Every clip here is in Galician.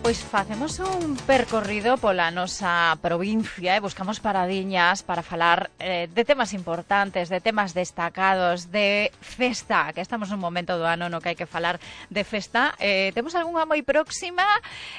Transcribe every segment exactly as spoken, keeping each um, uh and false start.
Pois facemos un percorrido pola nosa provincia e buscamos paradiñas para falar eh, de temas importantes, de temas destacados, de festa, que estamos nun momento do ano no que hai que falar de festa. Eh, temos algunha moi próxima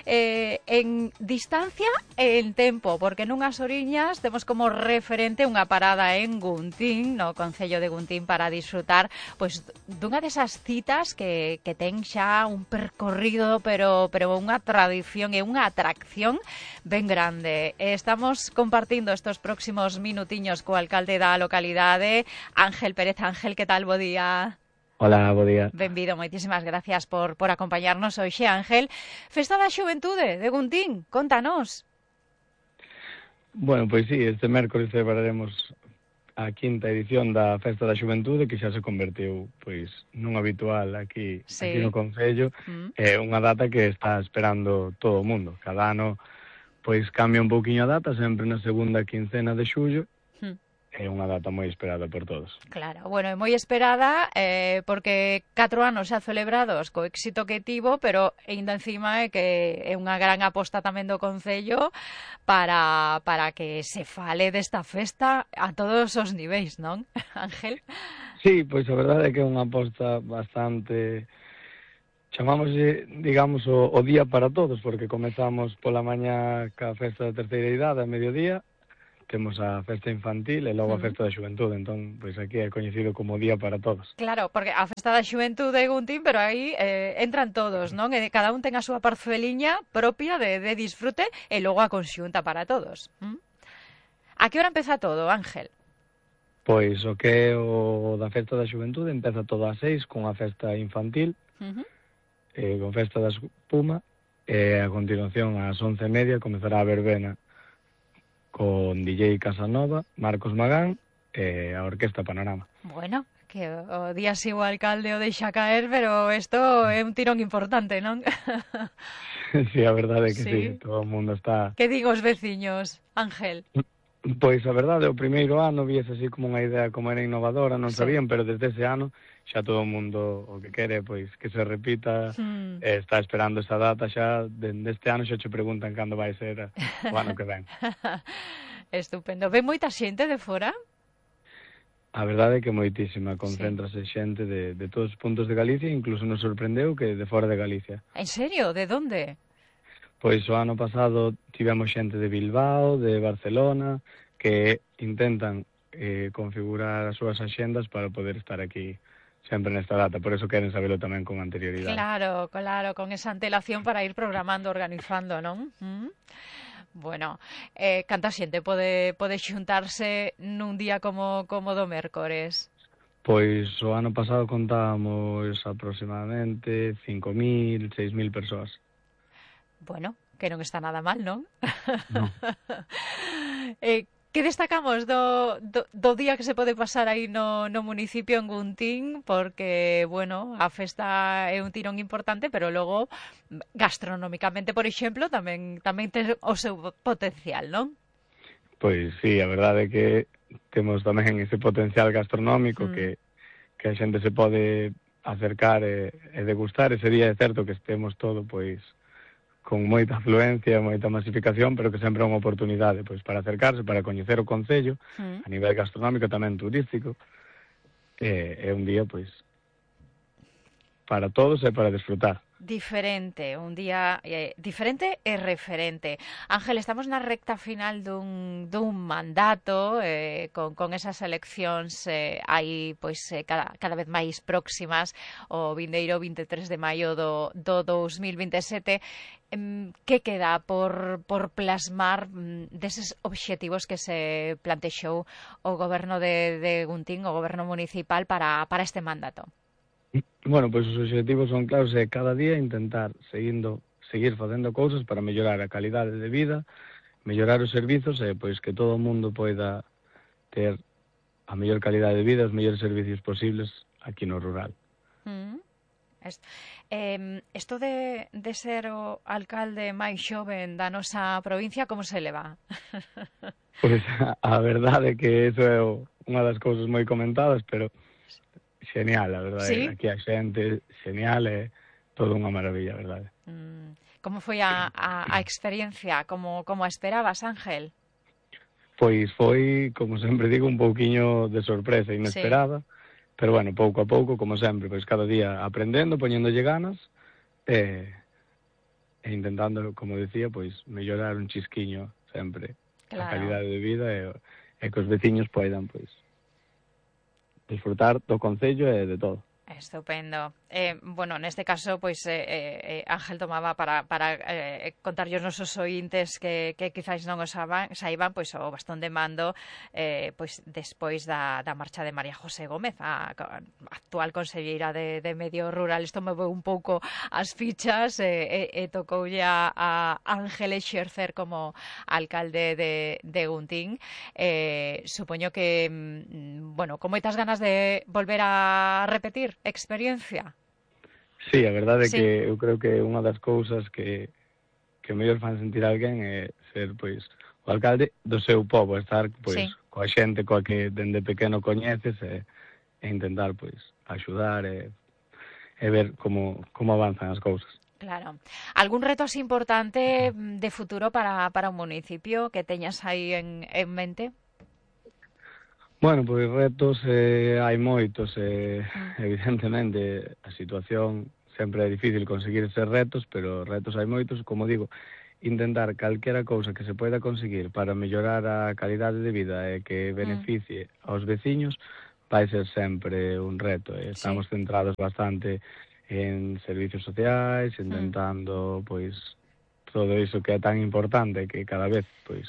eh, en distancia e en tempo, porque nunhas oriñas temos como referente unha parada en Guntín, no concello de Guntín, para disfrutar pois dunha desas citas que, que ten xa un percorrido, pero, pero unha tradición e unha atracción ben grande. Estamos compartindo estos próximos minutiños co alcalde da localidade, Ángel Pérez. Ángel, que tal? Bo día. Hola, bo día. Benvido, moitísimas gracias por, por acompañarnos hoxe, Ángel. Festa da Xuventude de Guntín, contanos. Bueno, pois sí, este mércoles celebraremos a quinta edición da Festa da Xuventude, que xa se convertiu pois nun habitual aquí, sí. aquí no concello. Mm. É unha data que está esperando todo o mundo. Cada ano pois cambia un pouquiño a data, sempre na segunda quincena de xullo. Mm. É unha data moi esperada por todos. Claro, bueno, é moi esperada eh, porque catro anos xa celebrados co éxito que tivo, pero ainda encima é que é unha gran aposta tamén do Concello para, para que se fale desta festa a todos os niveis, non, Ángel? Sí, pois a verdade é que é unha aposta bastante... Chamámoslle, digamos, o, o día para todos, porque comezamos pola mañá ca festa da terceira idade a mediodía, temos a festa infantil e logo a festa da xuventude, entón, pois aquí é coñecido como día para todos. Claro, porque a festa da xuventude é Guntín, pero aí eh, entran todos, non? E cada un ten a súa parceliña propia de, de disfrute e logo a conxunta para todos. ¿Mm? A que hora empeza todo, Ángel? Pois o que é o da festa da xuventude empeza todo ás seis con a festa infantil, uh-huh. eh, con festa da espuma, e a continuación ás once e media comezará a verbena con D J Casanova, Marcos Magán e a Orquesta Panorama. Bueno, que o día si o alcalde o deixa caer, pero isto é un tirón importante, non? Sí, a verdade é que sí, sí, todo o mundo está... Que digo os veciños, Ángel? Pois a verdade, o primeiro ano viese así como unha idea como era innovadora, non sí. sabían, pero desde ese ano xa todo o mundo o que quere pois que se repita, hmm. eh, está esperando esa data xa, dende este ano xa che preguntan cando vai ser o ano que ven. Estupendo. Ven moita xente de fora? A verdade é que moitísima, concéntrase sí. xente de, de todos os puntos de Galicia, incluso nos sorprendeu que de fora de Galicia. En serio? De donde? Pois o ano pasado tivemos xente de Bilbao, de Barcelona, que intentan eh, configurar as súas axendas para poder estar aquí sempre nesta data, por eso queren sabelo tamén con anterioridade. Claro, claro, con esa antelación para ir programando, organizando, non? ¿Mm? Bueno, eh, canta xente pode, pode xuntarse nun día como, como do mércores? Pois o ano pasado contábamos aproximadamente cinco mil, seis mil persoas. Bueno, que non está nada mal, non? No. eh, que destacamos do, do, do día que se pode pasar aí no, no municipio en Guntín? Porque, bueno, a festa é un tirón importante, pero logo, gastronómicamente, por exemplo, tamén tamén ten o seu potencial, non? Pois sí, a verdade é que temos tamén ese potencial gastronómico mm. que, que a xente se pode acercar e, e degustar. Ese día é certo que estemos todo, pois, con moita afluencia, moita masificación, pero que sempre é unha oportunidade pois para acercarse, para coñecer o concello, mm. a nivel gastronómico, tamén turístico. É, é un día, pois, para todos e para desfrutar. Diferente, un día eh, diferente e referente. Ángel, estamos na recta final dun, dun mandato eh, con, con esas eleccións eh, aí pois eh, cada, cada vez máis próximas, o vindeiro vinte e tres de maio do, do dous mil vinte e sete. Eh, que queda por, por plasmar mm, deses obxectivos que se plantexou o goberno de, de Guntín, o goberno municipal para, para este mandato? Bueno, pois os obxectivos son claros, é cada día intentar seguindo, seguir facendo cousas para mellorar a calidade de vida, mellorar os servizos e pois que todo o mundo poida ter a mellor calidade de vida, os mellores servicios posibles aquí no rural. Mm. Es, eh, esto de, de ser o alcalde máis xoven da nosa provincia, como se leva? Pois a, a verdade é que eso é o, unha das cousas moi comentadas, pero genial, a verdade. ¿Sí? Aquí a xente, genial, é todo unha maravilla, a verdade. Mm. Como foi a, a, a experiencia? Como, como a esperabas, Ángel? Pois foi, como sempre digo, un pouquiño de sorpresa, inesperada, sí. Pero bueno, pouco a pouco, como sempre, pois cada día aprendendo, poñéndolle ganas, e, e intentando, como decía, pois mellorar un chisquiño sempre, claro, a calidade de vida e, e que os veciños poidan, pois, disfrutar do concello e de todo. Estupendo. Eh, bueno, neste caso, pois eh, eh, Ángel tomaba para, para eh, contarlle os nosos ointes que, que quizáis non o saiban, saiban pois o bastón de mando eh, pois despois da, da marcha de María José Gómez, a, a actual conselleira de, de Medio Rural. Isto moveu un pouco as fichas e, e, e tocoulle a, a Ángel exercer como alcalde de, de Guntín. Eh, supoño que, bueno, con moitas ganas de volver a repetir experiencia. Sí, a verdade é sí. Que eu creo que unha das cousas que, que mellor fan sentir alguén é ser, pois, o alcalde do seu pobo, estar, pois, sí. coa xente coa que dende pequeno coñeces e, e intentar, pois, axudar e, e ver como, como avanzan as cousas. Claro. Algún reto así importante de futuro para, para un municipio que teñas aí en, en mente? Bueno, pois retos eh, hai moitos, eh, evidentemente a situación sempre é difícil conseguir eses retos, pero retos hai moitos, como digo, intentar calquera cousa que se poida conseguir para mellorar a calidade de vida e que beneficie mm. aos veciños vai ser sempre un reto. Eh. Estamos sí. centrados bastante en servicios sociais, intentando, mm. pois, todo iso que é tan importante que cada vez, pois,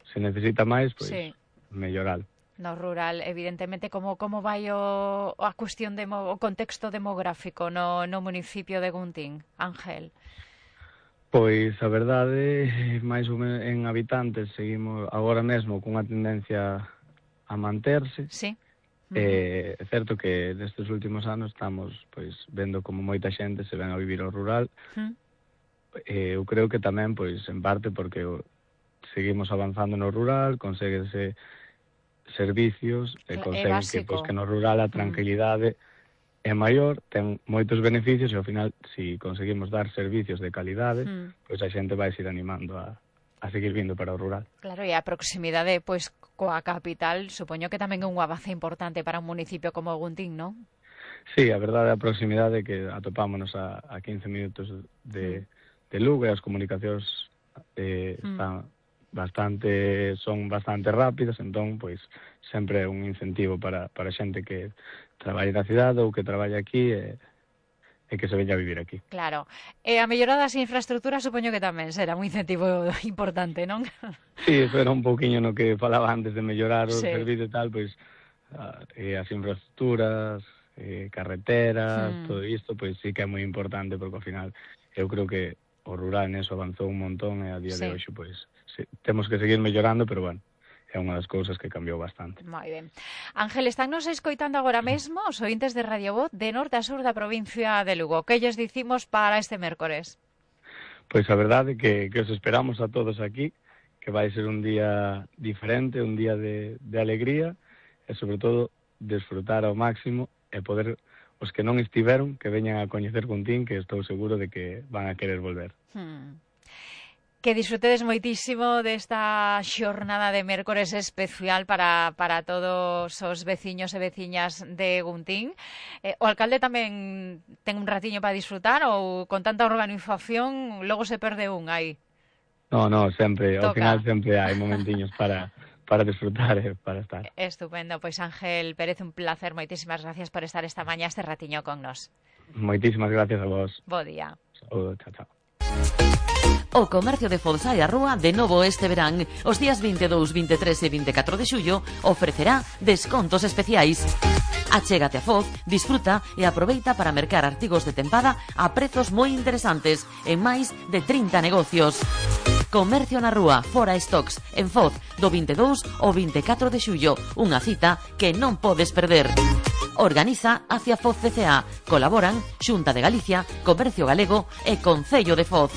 se necesita máis, pois, sí. mellorar. No rural, evidentemente, como como vai o a cuestión de o contexto demográfico no no municipio de Guntín, Ángel? Pois a verdade, máis ou menos en habitantes seguimos agora mesmo cunha tendencia a manterse. Sí. Uh-huh. Eh, é certo que nestes últimos anos estamos pois vendo como moita xente se ven a vivir ao rural. Uh-huh. Eh, eu creo que tamén pois en parte porque seguimos avanzando no rural, conseguese servicios e consegue que, pois, que no rural a tranquilidade mm. é maior, ten moitos beneficios e ao final, se si conseguimos dar servicios de calidade, mm. pois a xente vai se ir animando a, a seguir vindo para o rural. Claro, e a proximidade pois coa capital, supoño que tamén é un avance importante para un municipio como Guntín, non? Sí, a verdade a proximidade que atopámonos a, a quince minutos de, mm. de Lugo e as comunicacións eh, mm. están bastante son bastante rápidas, entón pois sempre é un incentivo para para xente que traballe na cidade ou que traballe aquí e, e que se veña a vivir aquí. Claro. E a mellora das infraestructuras supoño que tamén será un incentivo importante, non? Sí, eso era un pouquiño no que falaba antes de mellorar o sí. servicio e tal, pois eh, as infraestructuras, eh, carreteras, hmm. todo isto, pois sí que é moi importante porque ao final eu creo que o rural neso avanzou un montón e a día sí. de hoxe pois sí, temos que seguir mellorando, pero bueno, é unha das cousas que cambiou bastante. Moi ben. Ángel, están nos escoitando agora mesmo os ointes de Radio Voz de norte a sur da provincia de Lugo. Que lles dicimos para este mércores? Pois a verdade que, que os esperamos a todos aquí, que vai ser un día diferente, un día de, de alegría e sobre todo desfrutar ao máximo e poder os que non estiveron que veñan a coñecer Guntín, que estou seguro de que van a querer volver. Hmm. Que disfrutedes moitísimo desta xornada de mércores especial para, para todos os veciños e veciñas de Guntín. Eh, o alcalde tamén ten un ratiño para disfrutar ou con tanta organización logo se perde un aí? No, no, sempre, Toca. Ao final sempre hai momentiños para, para disfrutar e para estar. Estupendo, pois Ángel Pérez, un placer, moitísimas gracias por estar esta mañá este ratiño con nos. Moitísimas gracias a vos. Bo día. Saúdo, chao, chao. O comercio de Foz e a Rúa de novo este verán. Os días veinte e dous, veinte e tres e vinte e catro de xullo ofrecerá descontos especiais. Achégate a Foz, disfruta e aproveita para mercar artigos de tempada a prezos moi interesantes en máis de trinta negocios. Comercio na Rúa, Fora Stocks, en Foz, do veinte e dous ao vinte e catro de xullo. Unha cita que non podes perder. Organiza Hacia Foz C C A. Colaboran Xunta de Galicia, Comercio Galego e Concello de Foz.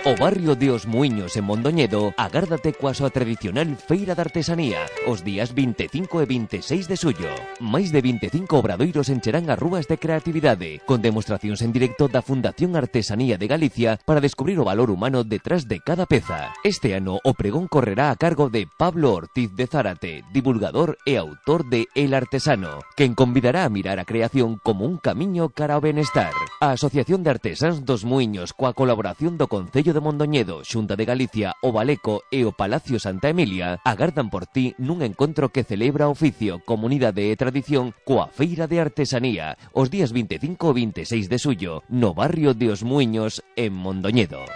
O barrio de Os Muiños en Mondoñedo agárdate coa súa tradicional feira de artesanía os días vinte e cinco e vinte e seis de xullo. Máis de vinte e cinco obradoiros encherán as rúas de creatividade, con demostracións en directo da Fundación Artesanía de Galicia para descubrir o valor humano detrás de cada peza. Este ano o pregón correrá a cargo de Pablo Ortiz de Zárate, divulgador e autor de El Artesano, quen convidará a mirar a creación como un camiño cara ao benestar. A Asociación de Artesáns dos Muiños, coa colaboración do Concello de Mondoñedo, Xunta de Galicia, o Baleco e o Palacio Santa Emilia, agardan por ti nun encontro que celebra oficio, comunidade e tradición coa Feira de Artesanía, os días vinte e cinco e vinte e seis de xullo, no barrio de Os Muiños, en Mondoñedo.